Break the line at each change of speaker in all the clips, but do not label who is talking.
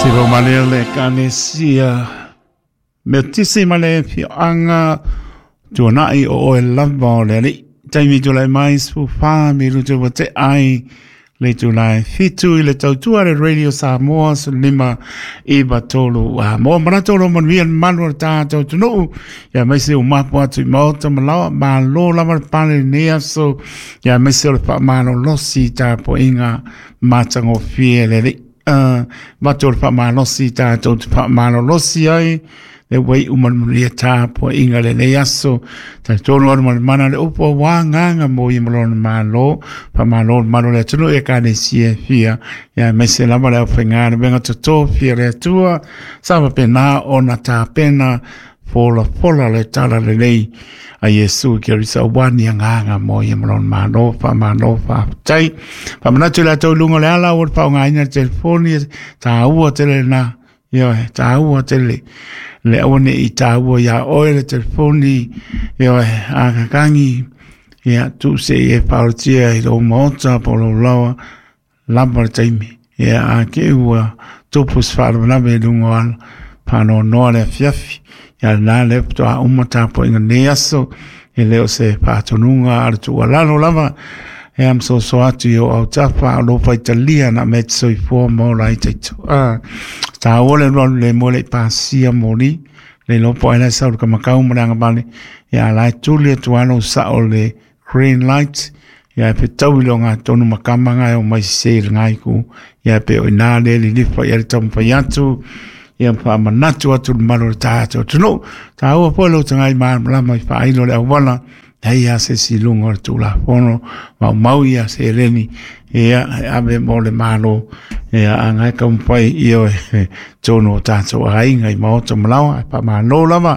Se ro male le Ekalesia Metotisi ma le Afioaga Tuanai o oe lava o le Alii. Taimi tulai mai 14 minutu ua tea ai le itula e 7 i le tautua le Radio Samoa 15 93 a mo manatu o lo manuia le mamalu o le tatou atunuu ia aemaise o mapu atu i maota ma laoa malo lava le pale i lenei aso ia aemaise o le faamalolosi i tapuaiga matagofie le Alii. Avatu o le faamalosi tatou te faamalolosi ai le ua iu ma le manuia tapuaiga lenei aso. Talitonu anu ma le mana le upu aua agaga mo ia ma lona malo. Faamalo le malu o le atunuu i Ekalesia e fia, ia aemaise lava le aufaigaluega totofi a le Atua, sa faapena ona tapena folafola le tala lelei a Iesu Keriso aua ni agaga mo ia ma lona malo. Faamalo faafetai. Faamanatu i latou i luga o le ala ua le faaaogaina le telefoni, taua tele lena. Ioe, taua tele le aua ne i taua iā oe le telefoni, ioe, a kakangi, ia, tuu se i e paolotia i lou maota po o lou laoa, lava le taimi. Ia, a ke ua tupu se faalavelave i luga o ala, faanoanoa le afiafi, ia lena lea faatoa uma tapuaiga nei aso, e le o se faatonuga a le tuualalo lava, e ma soso atu i o autafa o lou faitalia na mea te soifua ma ola ai taito. Taua le alualu le moe le i pasia moli, le iloa po o ai la e sau i le kamakau ma le agavale, ia a la e tuli atu lava lou sao i le green light, ia e fetau i le ogatotonu ma kama nga e omai sese i lena itu, ia pei o i ina lea e lilifa i ai le taumafai atu, ia faamanatu atu i le mamalu o le tatou atunuu. Taua foi lou tagai malamalama i faailo le auala, leai lava se isi i luga o le Tulafono, maumau ia seleni ia e ave mo le Malo, ia a na e taumafai ioe tonu o tatou aiga i maota ma laoa. Ae faamalo lava,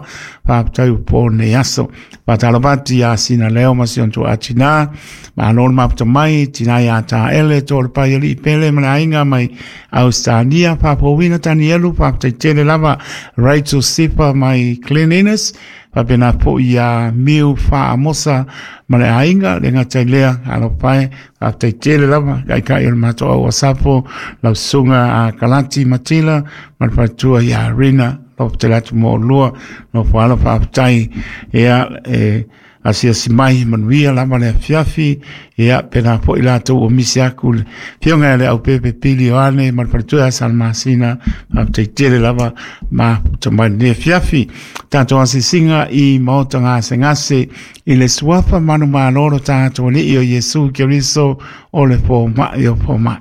faafetai ua po lenei aso. Faatalofa atu ia Sina Leo ma si ona tuaa tina, malo le mafuta mai, tina ia Taele, to le pai alii pele ma le aiga mai Ausetalia, faafouina Tanielu, faafetai tele lava Rachel Sifa mai Glen Innes, faapena foi ia Miu Faamosa ma le aiga, le gata i lea, alofa e, faafetai tele lava, kaikai o le matou au Asafo, lau susuga a Kalati Matila, ma le faletua ia Rina, lofa tele atu mo oulua, nofo alo faafetai, ia, e, asiasi mai manuia lava le afiafi, ia, pena foi latou ua misi aku le afioga ia le Aupepe Pili Ioane ma le faletua ia Salamasina, faafetai tele lava mafuta mai lenei afiafi. Tatou asiasiga i maota gasegase i le suafa manumalo o lo tatou Alii o Iesu Keriso o le fomai o fomai.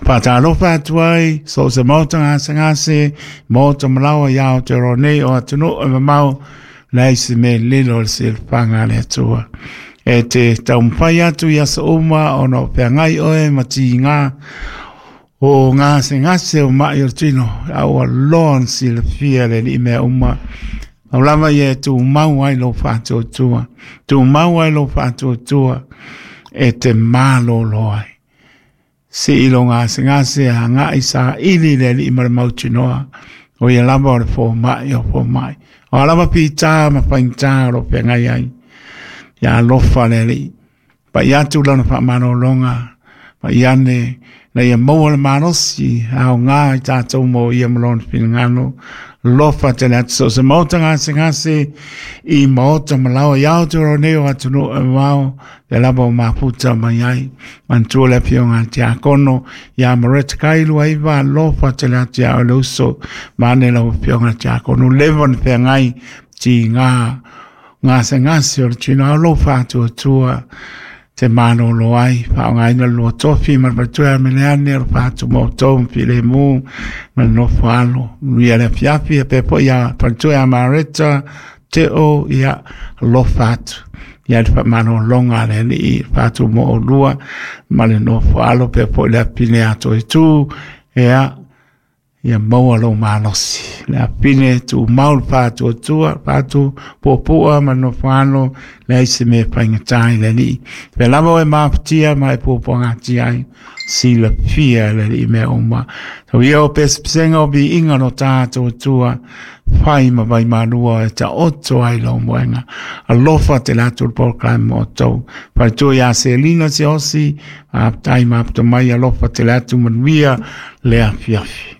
Faatalofa atu ai so o se maota gasegase, maota malaoa i Aotearoa nei o atunuu e mamao, leai se mea lilo o le silafaga a le Atua. E te taumafai atu i aso uma ona o feagai oe ma tiga o gasegase o mai o le tino, a ua loa ona silafia le Alii mea uma. Pau lava ia e tumau ai lou faatuatua, tumau ai lou faatuatua e te malolo ai. Sii lou gasegase agai saili i le Alii ma le mautinoa, o ia lava o le fomai o fomai. O a lava pitā ma faigata o lo o feagai ai, ia alofa le Alii. Pai atu lana faamalologa, pai ane ina ia maua le malosi aoga i tatou mo ia ma lona finagalo. Alofa tele atu so o se maota gasegase i maota ma laoa i Aotearoa nei o atunuu e mamao, lea lava o mafuta mai ai. Manatua le afioga a le Tiakono ia Maretta Kailuaiva, alofa tele atu ia oe le uso, vaeane lau afioga i le Tiakono, leva ona feagai tiga gasegase o le tino ao lou faatuatua te malolo ai, faaaogaina le lua tofi ma le faletua ia Meleane o le fatu ma outou ma filemu ma le nofo alo. Manuia le afiafi, ia pea foi ia faletua ia Mareta, Teo, ia alofa atu. Ia le faamalologa a le Alii, le fatu mo oulua ma le nofo alo, pea foi le afine ato e tu, ia, ia maua lou malosi. Le afine tumau le faatuatua, fatu puapua ma le nofo alo, leai se mea e faigata i le Alii. Pea lava oe mafatia ma e puapuagatia ai, silafia e le Alii mea uma. Tau ia o pesepesega o viiga lo tatou Atua, fai ma vaimalua e taoto ai lou moega. Alofa tele atu le polokalame mo outou. Faletua ia Selina Siaosi, faafetai mafuta mai, alofa tele atu, manuia le afiafi.